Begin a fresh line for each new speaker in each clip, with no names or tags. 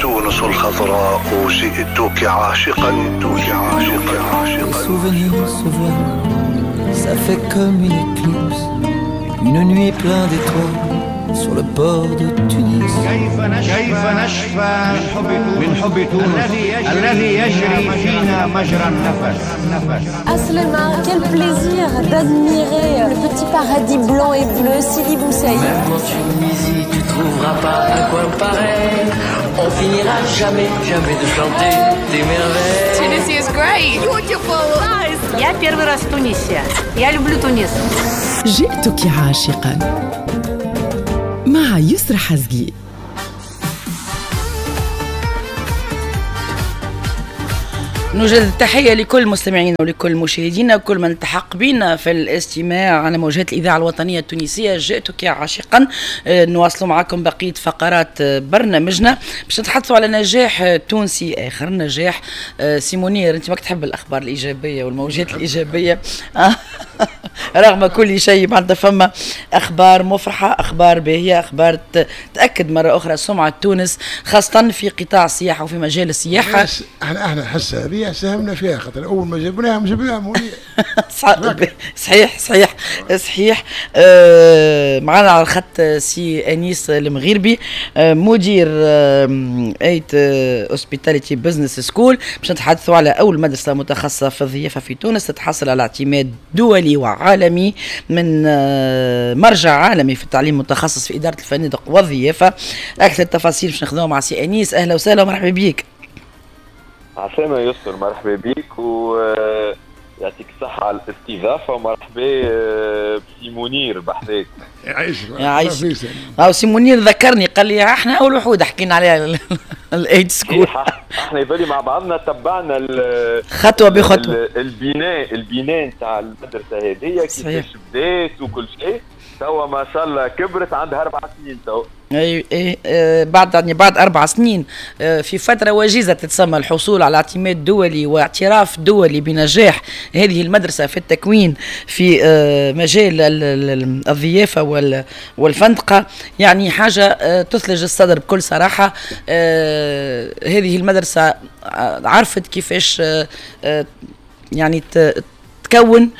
تونس الخضراء جئتك عاشقا عاشقا عاشقا.
Souvenirs se voilent, ça fait comme une éclipse, une nuit pleine d'étoiles sur le port de Tunis.
كيف نشفى من حب تونس الذي يجري فينا مجرى النفس.
عسلامة, quel plaisir d'admirer le petit paradis blanc et bleu, Sidi Bou Saïd.
Même en Tunisie, tu trouveras pas un coin pareil. On finira jamais, jamais de chanter des merveilles.
Tunisia is great. Beautiful. Nice.
Я первый раз в Тунисе. Я люблю Тунис.
جئتك عاشقا مع يسرى حزقي.
نوجد التحية لكل مستمعينا ولكل مشاهدينا وكل من التحق بنا في الاستماع على موجات الإذاعة الوطنية التونسية. جئتك عاشقا. نواصل معكم بقية فقرات برنامجنا باش نتحدثوا على نجاح تونسي آخر، نجاح سي منير. أنت ماك تحب الأخبار الإيجابية والموجات الإيجابية رغم كل شيء، معناتها فما أخبار مفرحة، أخبار باهية، أخبار تأكد مرة أخرى سمعة تونس خاصة في قطاع السياحة وفي مجال السياحة.
احنا الحصة هذه ساهمنا فيها، خاطر اول ما جبناها منير.
صحيح صحيح صحيح. معنا على الخط سي انيس المغيربي، مدير Eight Hospitality Business School، باش نتحدثوا على اول مدرسه متخصصة في الضيافة في تونس تتحصل على اعتماد دولي وعالمي من مرجع عالمي في التعليم المتخصص في ادارة الفنادق والضيافه. اكثر التفاصيل باش ناخذوها مع سي انيس. اهلا وسهلا ومرحبا بك.
عسلامة يسر، مرحبا بك ويعطيك الصحة على الاستضافة، ومرحبا بسي منير بحذاك.
يعيشك. سي منير ذكرني قال لي احنا أول وحود حكينا عليها ال Eight School.
احنا يظل مع بعضنا تبعنا
خطوة بخطوة
البناء نتاع المدرسة هذه كيفاش بدات وكل شيء. توا ما شاء الله كبرت، عندها 4 سنين تو.
اي اي بعد يعني بعد 4 سنين في فترة وجيزة تتسمى الحصول على اعتماد دولي واعتراف دولي بنجاح هذه المدرسة في التكوين في مجال الضيافة والفندقه، يعني حاجة تثلج الصدر بكل صراحة. هذه المدرسة عرفت كيفاش يعني تكون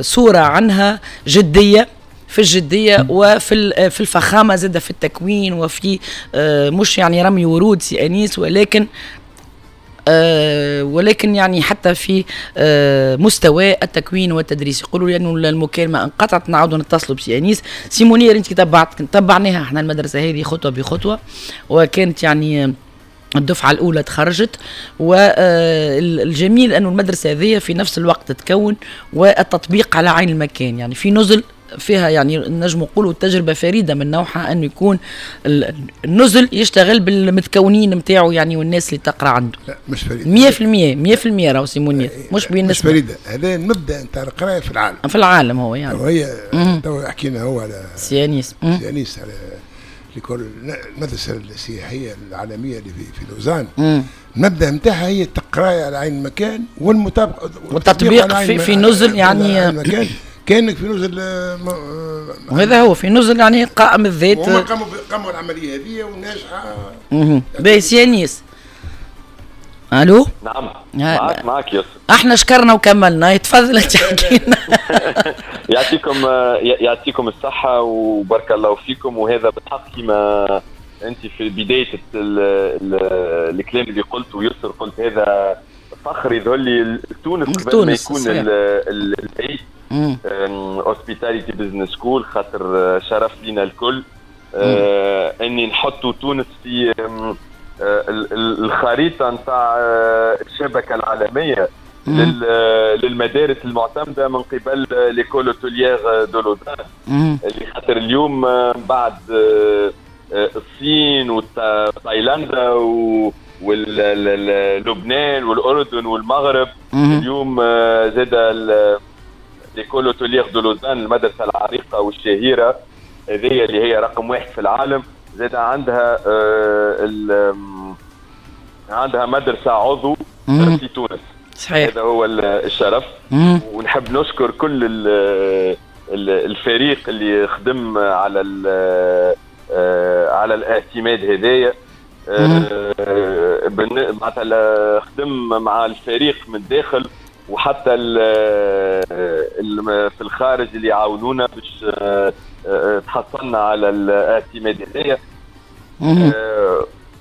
صوره عنها جدية في الجدية وفي في الفخامة زادة في التكوين وفي مش يعني رمي ورود سي أنيس، ولكن يعني حتى في مستوى التكوين والتدريس. يقولوا لي انه المكالمة انقطعت، نعاودوا نتصلوا بسي أنيس. سي منير انت تبعناها احنا المدرسة هذه خطوة بخطوة، وكانت يعني الدفعة الأولى تخرجت، والجميل أنه المدرسة هذه في نفس الوقت تتكون والتطبيق على عين المكان، يعني في نزل فيها، يعني نجم نقولوا تجربة فريدة من نوعها أنه يكون النزل يشتغل بالمتكونين نتاعو يعني والناس اللي تقرأ عنده.
لا مش فريدة
100% 100% راهو سي منير، مش بالنسبة
مش فريدة. هذا المبدأ نتاع القراية في العالم،
في العالم هو يعني
وهي تو حكينا هو على
سي أنيس،
سي أنيس على l'école المدرسة السياحية العالمية اللي في لوزان. المبدأ نتاعها هي القراية على عين المكان والمطابقة
والتطبيق في نزل، يعني
المكان كانك في نزل
وهذا هو في نزل يعني قائم الذات.
هما قاموا العملية هذه وناجحة.
باهي سي أنيس. الو.
نعم معك يسر.
احنا شكرنا وكملنا، تفضل تحكي لنا.
يعطيكم الصحة وبارك الله فيكم. وهذا بالحق كما انت في بداية الكلام اللي قلته ويسر قلت، هذا فخر يظهر لي تونس قبل ما يكون ال Eight Hospitality Business School، خاطر شرف لنا الكل اني نحطوا تونس في الخريطة نتاع الشبكة العالمية للمدارس المعتمدة من قبل l'école hôtelière de Lausanne، اللي خاطر اليوم بعد الصين وتايلاندا ولبنان والاردن والمغرب، اليوم زاد l'école hôtelière de Lausanne المدرسة العريقه والشهيره هذه اللي هي رقم 1 في العالم، زاد عندها عندها مدرسه عضو في تونس.
صحيح.
هذا هو الشرف. ونحب نشكر كل الفريق اللي خدم على على الاعتماد هذايا. معناتها خدم مع الفريق من داخل وحتى في الخارج اللي يعاونونا باش تحصلنا على الاعتماد هذايا.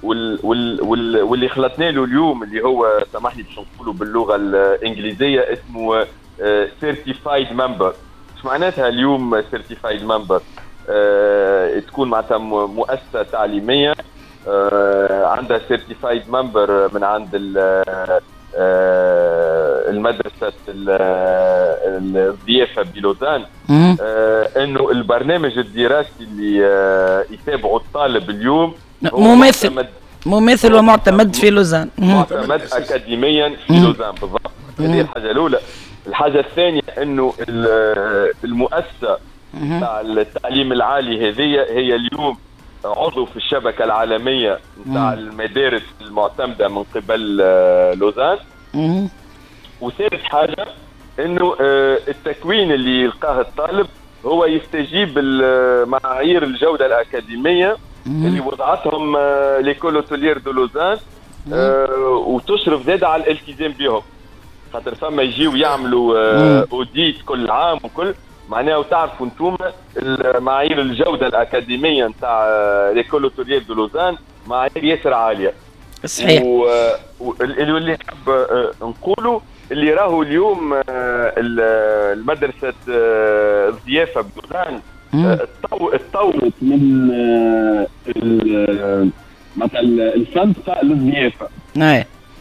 واللي خلطنا له اليوم اللي هو سامحني باش نقولوا باللغة الانجليزية اسمه certified member. ايش معناتها اليوم certified member؟ تكون معناتها مؤسسة تعليمية عندها certified member من عند المدرسة الضيافة بلوزان، انه البرنامج الدراسي اللي يتابعه الطالب اليوم
مماثل ومعتمد في لوزان،
معتمد اكاديميا في لوزان بالضبط. هذه الحاجة الاولى. الحاجة الثانية انه المؤسسة تاع التعليم العالي هذه هي اليوم عضو في الشبكة العالمية نتاع المدارس المعتمدة من قبل لوزان. وثالث حاجة انه التكوين اللي يلقاه الطالب هو يستجيب معايير الجودة الاكاديمية اللي وضعتهم l'école hôtelière de Lausanne، وتشرف زاد على الالتزام بهم، خاطر فما يجيو يعملوا audit كل عام وكل معناها. وتعرفوا انتم معايير الجودة الاكاديمية نتاع l'école hôtelière de Lausanne معايير ياسر عالية.
صحيح.
واللي نحب نقوله اللي راهو اليوم المدرسة الضيافة بلوزان تطورت من مثلا الفندقه للضيافه.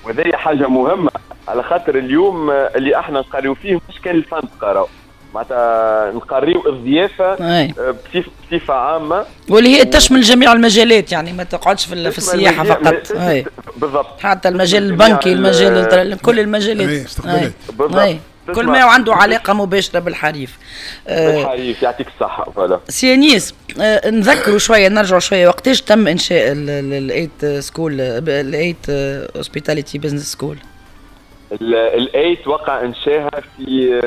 وهذه حاجة مهمة على خاطر اليوم اللي احنا نقريو فيه مش كان الفندقه، راهو معناتها نقريو الضيافة بصفة عامة،
واللي هي تشمل جميع المجالات، يعني ما تقعدش في السياحة فقط.
بالضبط،
حتى المجال البنكي، المجال كل المجالات. بالضبط، كل ما عنده علاقة مباشرة بالحريف.
بالحريف. يعطيك الصحة. voilà
سي أنيس، نذكروا شوية، نرجعوا شوية وقتاش تم انشاء ال EIGHT School، ال EIGHT Hospitality Business School؟
ال EIGHT وقع انشاها في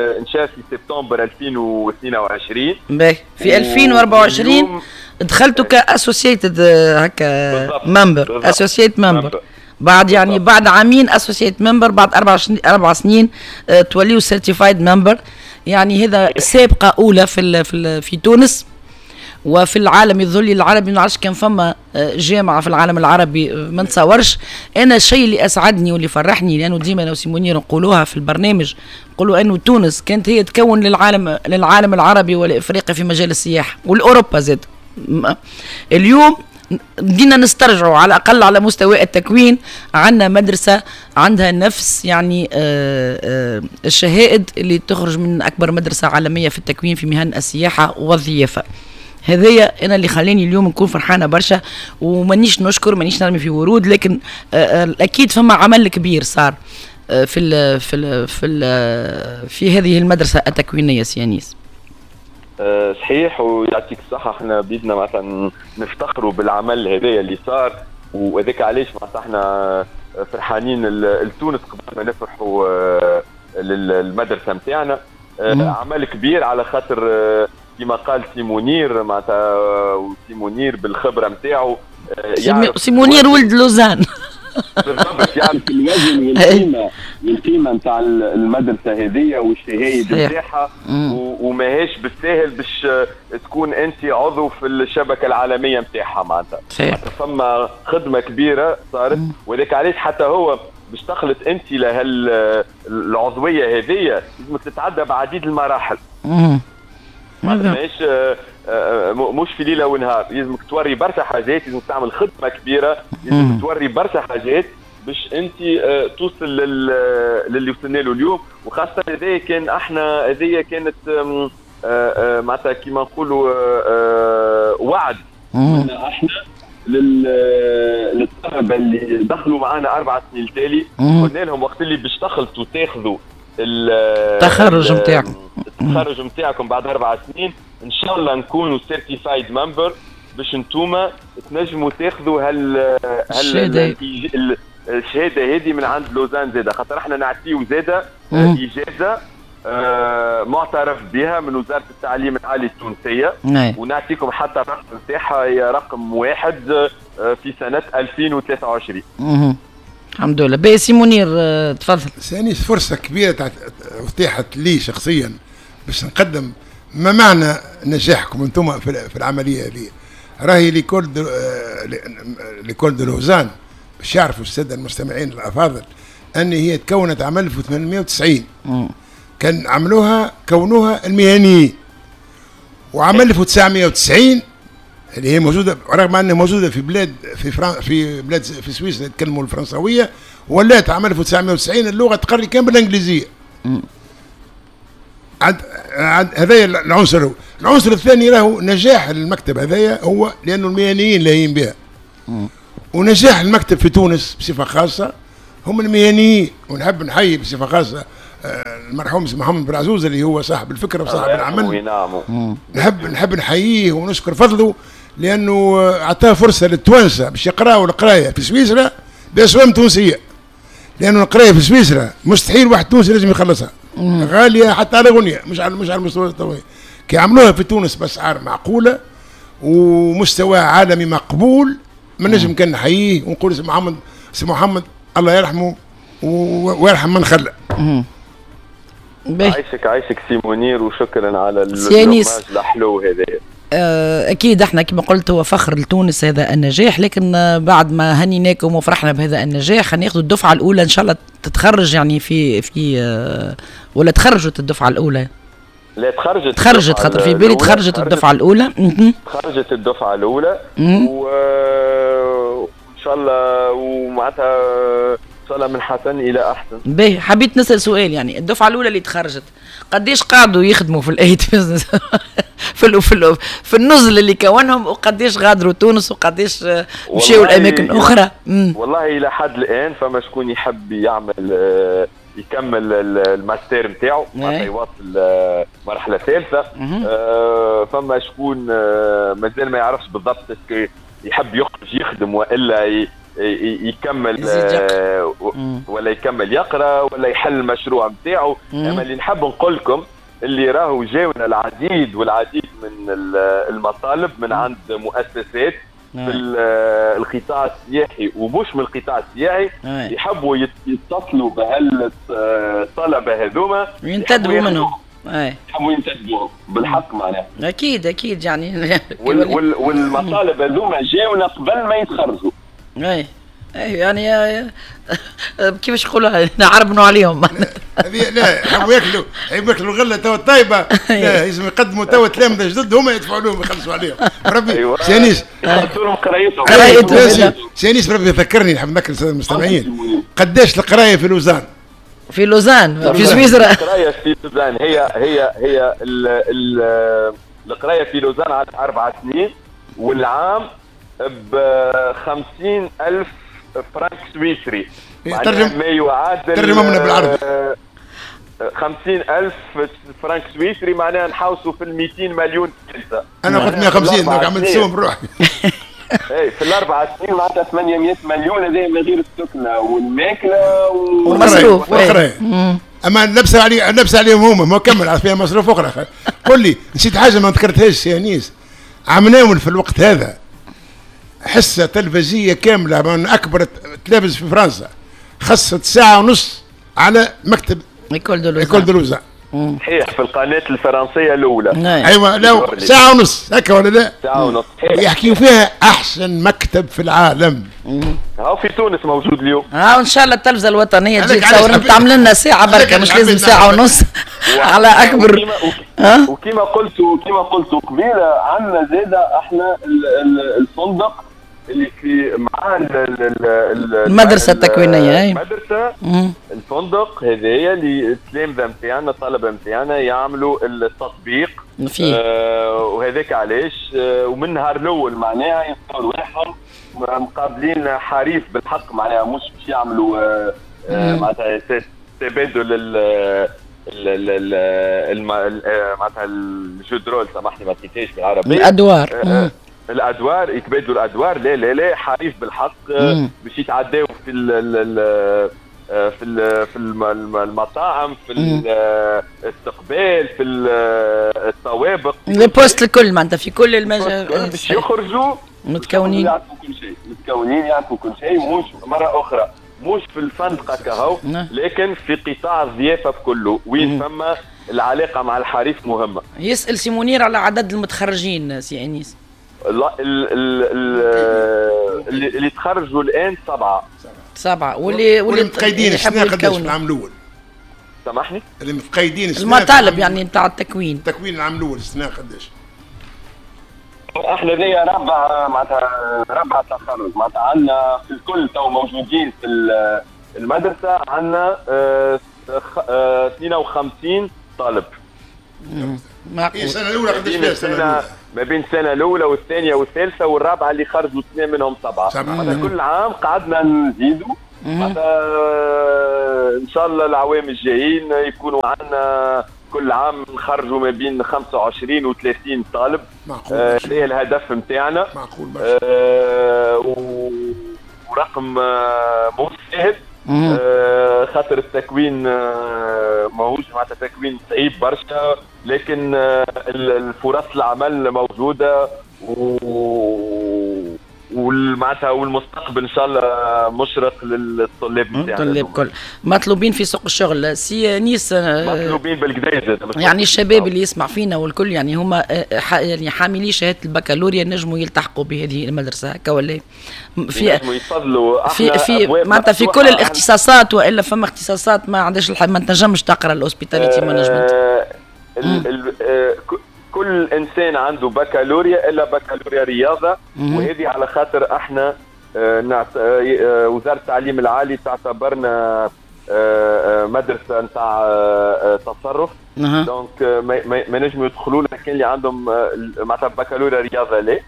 سبتمبر 2022.
باهي، في 2024 دخلتوا ك associated هكا member، associate member. بعد يعني بعد عامين associate member، بعد 4 سنين توليوا certified member. يعني هذا سابقه اولى في في في تونس وفي العالم. يظل العربي ما نعرفش كان فما جامعه في العالم العربي، ما نتصورش. انا الشيء اللي اسعدني واللي فرحني، لانه ديما انا وسي منير نقولوها في البرنامج، نقولوا انه تونس كانت هي تكون للعالم العربي والافريقي في مجال السياحة والاوروبا زاد. اليوم بدينا نسترجعوا على الاقل على مستوى التكوين، عندنا مدرسه عندها نفس يعني الشهائد اللي تخرج من اكبر مدرسه عالمية في التكوين في مهن السياحة والضيافه. هذايا انا اللي خلاني اليوم نكون فرحانة برشا، ومانيش نشكر، مانيش نرمي في ورود، لكن اكيد فما عمل كبير صار في ال في ال في ال في هذه المدرسة التكوينيه. سي أنيس.
صحيح، ويعطيك الصحة. احنا بيدنا مثلا نفتخروا بالعمل هذايا اللي صار، وهذاك علاش معناتها احنا فرحانين لتونس قبل ما نفرحوا للمدرسة نتاعنا. عمل كبير على خاطر كما قال سي منير، معناتها وسي منير بالخبرة نتاعو،
سي منير ولد لوزان
بالضبط، يعرف الوزن والقيمة نتاع المدرسة هذه والشهايد نتاعها، وماهيش بالساهل باش تكون انت عضو في الشبكة العالمية نتاعها. معناتها فما خدمة كبيرة صارت، وذاك علاش حتى هو باش تخلط انت لهالعضويه هذه لازمك تتعدى بعديد المراحل. ماهيش مش في ليلة ونهار، لازمك توري برشا حاجات، لازمك تعمل خدمة كبيرة، لازمك توري برشا حاجات باش انت توصل للي وصلنا له اليوم. وخاصة هذايا كان احنا هذايا كانت معناتها كيما نقولوا وعد منا احنا للطلبة اللي دخلوا معنا 4 سنين التالي. قلنا لهم وقت اللي باش تخلطوا تاخذوا
التخرج نتاعكم،
التخرج نتاعكم بعد 4 سنين ان شاء الله نكونوا certified member باش انتوما تنجموا تاخذوا هال الشهادة هذه من عند لوزان زاده، خاطر احنا نعطيو زاده اجازه معترف بها من وزارة التعليم العالي التونسية. ونعطيكم حتى الرقم نتاعها، هي رقم 1 في سنة 2023.
الحمد لله. باهي سي منير تفضل.
سي فرصة كبيرة اتيحت لي شخصيا باش نقدم ما معنى نجاحكم انتم في العملية هذه. راهي l'école de Lausanne، باش يعرفوا السادة المستمعين الافاضل ان هي تكونت عام 1890. كان عملوها كونوها المهنيين، وعام 1990 اللي هي موجودة، رغم انها موجودة في بلاد في بلاد في سويسرا يتكلموا الفرنسويه، ولات عام 1990 اللغة تقري كان بالانجليزية. هذا العنصر. العنصر الثاني راهو نجاح المكتب هذايا هو لانه المهنيين لاهين بها. ونجاح المكتب في تونس بصفة خاصة هم المهنيين، ونحب نحيي بصفة خاصة المرحوم محمد بن عزوز اللي هو صاحب الفكرة وصاحب العمل. نحب نحييه ونشكر فضله، لانه اعطاه فرصة للتوانسه باش يقراوا القراية في سويسرا باسوام تونسية، لانه القراية في سويسرا مستحيل واحد تونسي لازم يخلصها، غالية حتى على غنية، مش على المستوى الطويل. كي عملوها في تونس باسعار معقولة ومستوى عالمي مقبول، ما نجم كان نحييه ونقول سي محمد الله يرحمه ويرحم من خلى.
عايشك سي منير، وشكرا على ال hommage الحلو هذا.
اكيد احنا كما قلت هو فخر لتونس هذا النجاح، لكن بعد ما هنيناكم وفرحنا بهذا النجاح ناخذ الدفعة الاولى ان شاء الله تتخرج، يعني في ولا تخرجت الدفعة الاولى؟
لا تخرجت،
خاطر في بالي تخرجت الدفعة الاولى.
تخرجت الدفعة الاولى وان شاء الله، ومعناتها ان شاء الله من حسن الى احسن.
باهي، حبيت نسال سؤال، يعني الدفعة الاولى اللي تخرجت قديش قعدوا يخدموا في الايت بزنس في النزل اللي كونهم، وقديش غادروا تونس، وقديش مشاو لاماكن اخرى؟
والله الى حد الان فما شكون يحب يعمل يكمل الماستر نتاعو، معناتها يواصل مرحلة ثالثة. فما شكون مازال ما يعرفش بالضبط يحب يخرج يخدم والا يكمل ولا يكمل يقرا ولا يحل المشروع نتاعو. اما اللي نحب نقول لكم اللي راهو جاونا العديد والعديد من المطالب من عند مؤسسات في القطاع السياحي ومش من القطاع السياحي، يحبوا يتصلوا بهالطلبه هذوما
وينتدبوا منهم،
يحبوا ينتدبوا بالحق معناها.
اكيد اكيد يعني
والمطالب هذوما جاونا قبل ما يتخرجوا.
اي يعني كيفاش نقولوها، نعربنوا عليهم.
هذه لا يحبوا ياكلوا الغلة توا الطيبة، لا لازم يقدموا توا تلامذه جدد هما يدفعوا لهم يخلصوا عليهم. ربي سي أنيس
يخلصوا لهم قرايتهم.
سي أنيس ربي يذكرني، نحب نذكر السادة المستمعين قداش القراية في لوزان.
في لوزان في سويسرا
القراية في لوزان هي هي هي القراية في لوزان على 4 سنين، والعام ب 50,000 فرنك سويسري.
ترجم
ما يعادل،
ترجمهم بالعربي.
50,000 فرنك سويسري معناها نحوسوا في 200 مليون ثالثة.
انا قلت 150 donc عملت سوم بروحي.
اي في ال4 سنين معناتها 800 مليون، هذا من غير السكنة والماكله
والمصروف.
اما اللبسه عليهم هما، ما كمل فيها مصروف اخرى. قل لي نسيت حاجة ما ذكرتهاش سي أنيس، عمناول في الوقت هذا حصة تلفزية كاملة من أكبر تلفز في فرنسا، خصت 1.5 ساعة على مكتب
École de Lausanne.
صحيح، في القناة الفرنسية الأولى.
أيوة، لا 1.5 ساعة هكا ولا لا؟
1.5 ساعة.
يحكيوا فيها أحسن مكتب في العالم.
هاو في تونس موجود اليوم.
إن شاء الله التلفزة الوطنية تجي تصور تعمل لنا ساعة بركة، مش لازم 1.5 ساعة على أكبر.
وكما قلت قبيلة، عندنا زادة احنا الفندق اللي في مع
المدرسة التكوينية.
المدرسة الفندق هذايا اللي التلامذة نتاعنا الطلبة نتاعنا يعملوا التطبيق فيه. وهذاك علاش ومن النهار الأول معناها يلقاو رواحهم مقابلين حريف بالحق، معناها مش باش يعملوا معناتها تبادل معناتها ال jeu de rôle، سامحني ما لقيتهاش بالعربية.
الأدوار.
الادوار، يتبادلوا الادوار. لا لا لا، حريف بالحق باش يتعداو في ال في ال في المطاعم، في الاستقبال، في الطوابق،
les postes الكل، معناتها في كل المجال
باش يخرجوا
متكونين
يعرفوا كل شيء، متكونين يعرفوا كل شيء، مش مرة اخرى مش في الفندقه كهو، لكن في قطاع الضيافة بكله وين فما العلاقة مع الحريف مهمة.
يسال سي منير على عدد المتخرجين سي انيس.
اللي تخرجوا الان 7
واللي
متقيدين السنة قداش في العام الاول؟
سامحني؟
اللي متقيدين السنة
المطالب يعني نتاع التكوين،
التكوين العام الاول السنة قداش؟
احنا ذي ربع معناتها ربع تخرج، معناتها عندنا في الكل تو موجودين في المدرسة عندنا 52 طالب.
معقول.
السنة الاولى قداش فيها؟ السنة الاولى
ما بين السنة الاولى والثانية والثالثة والرابعة اللي خرجوا اثنين منهم 7. كل عام قعدنا نزيدوا ان شاء الله العوام الجايين يكونوا عندنا كل عام نخرجوا ما بين 25 و30 طالب.
معقول.
هذا الهدف نتاعنا.
معقول برشا.
ورقم مو سهل، خاطر التكوين ماهوش معناتها تكوين صعيب برشا، لكن الفرص العمل موجودة والمعناتها والمستقبل ان شاء الله مشرق للطلاب نتاعنا.
الطلاب كل مطلوبين في سوق الشغل سي انيس،
مطلوبين بالكدا
يعني الشباب اللي يسمع فينا والكل يعني هما يعني حاملي شهادة البكالوريا نجموا يلتحقوا بهذه المدرسة هكا ولا
في يتفضلوا
في معناتها في كل الاختصاصات، والا فما اختصاصات ما عندهاش ما تنجمش تقرا ال hospitality management؟
كل انسان عنده بكالوريا الا بكالوريا رياضة، وهذه على خاطر احنا وزارة التعليم العالي تعتبرنا مدرسه نتاع تصرف، donc ما نجموا يدخلوا لنا كان اللي عندهم معناتها بكالوريا رياضة لا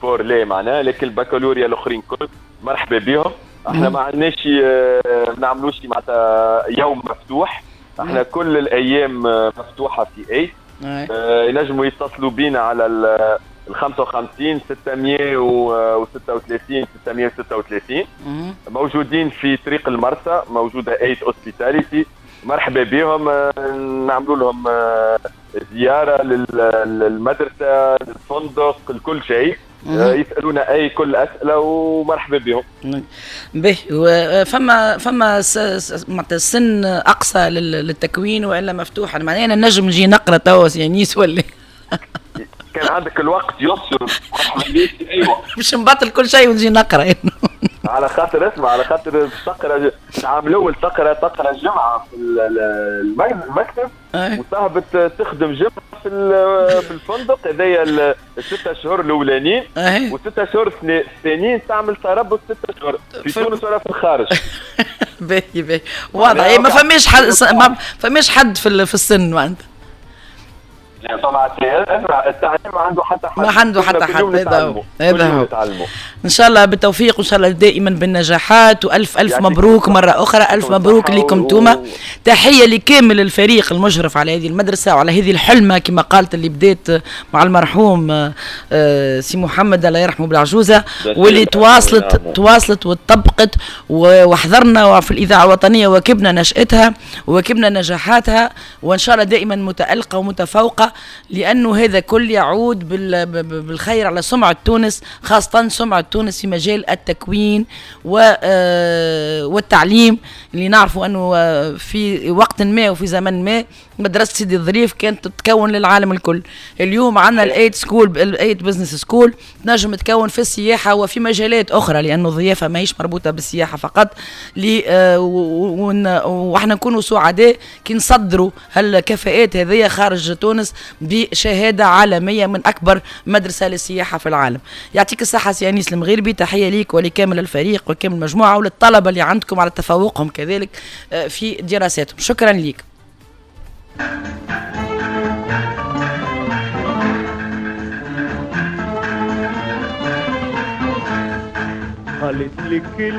sport لا معناها، لكن البكالوريا الاخرين كل مرحبا بهم. احنا ما عندناش ما نعملوش معناتها يوم مفتوح، احنا كل الايام مفتوحة في اي ينجموا يتصلوا بينا على ال 55 636 636. موجودين في طريق المرسى، موجودة ايت Hospitality، مرحبا بهم، نعملوا لهم زيارة للمدرسة للفندق لكل شيء، يسالونا اي كل اسئلة ومرحبا بهم.
به فما معناتها سن اقصى للتكوين والا مفتوح؟ معناها انا نجم نجي نقرا توا سي انيس ولا
كان عندك الوقت يسر؟ ايوه
باش نبطل كل شيء ونجي نقرا.
على خاطر اسمع، على خاطر تقرا العام الاول تقرا الجمعة في المكتب وتهبط تخدم جمعه في الفندق، هذايا الستة شهور الاولانيين، وستة شهور الثانيين تعمل تربص 6 شهور في تونس ولا في الخارج.
باهي باهي واضح، ما فماش حد، ما فماش حد في السن معناتها.
طبعا التعليم ما عنده حتى حد،
ما عنده حتى حد. هذا هو. ان شاء الله بالتوفيق، وان شاء الله دائما بالنجاحات، والف الف مبروك مرة اخرى، الف مبروك لكم توما. تحية لكامل الفريق المشرف على هذه المدرسة وعلى هذه الحلمة كما قالت اللي بدات مع المرحوم سي محمد الله يرحمه بالعجوزه، واللي تواصلت وتطبقت، وحضرنا في الاذاعة الوطنية وكبنا نشاتها وكبنا نجاحاتها، وان شاء الله دائما متالقه ومتفوقه، لأنه هذا كل يعود بالخير على سمعة تونس، خاصة سمعة تونس في مجال التكوين والتعليم، اللي نعرفوا أنه في وقت ما وفي زمن ما مدرسة سيدي الظريف كانت تتكون للعالم الكل. اليوم عندنا ال EIGHT School، ال EIGHT Business School تنجم تكون في السياحة وفي مجالات أخرى، لأنه الضيافة ماهيش مربوطة بالسياحة فقط. وإحنا نكونوا سعداء كي نصدروا هالكفاءات هذه خارج تونس بشهادة عالمية من أكبر مدرسة للسياحة في العالم. يعطيك الصحة سي أنيس المغربي، تحية ليك ولكامل الفريق وكامل المجموعة وللطلبة اللي عندكم على تفوقهم كذلك في دراساتهم. شكرا ليك.
قالت لك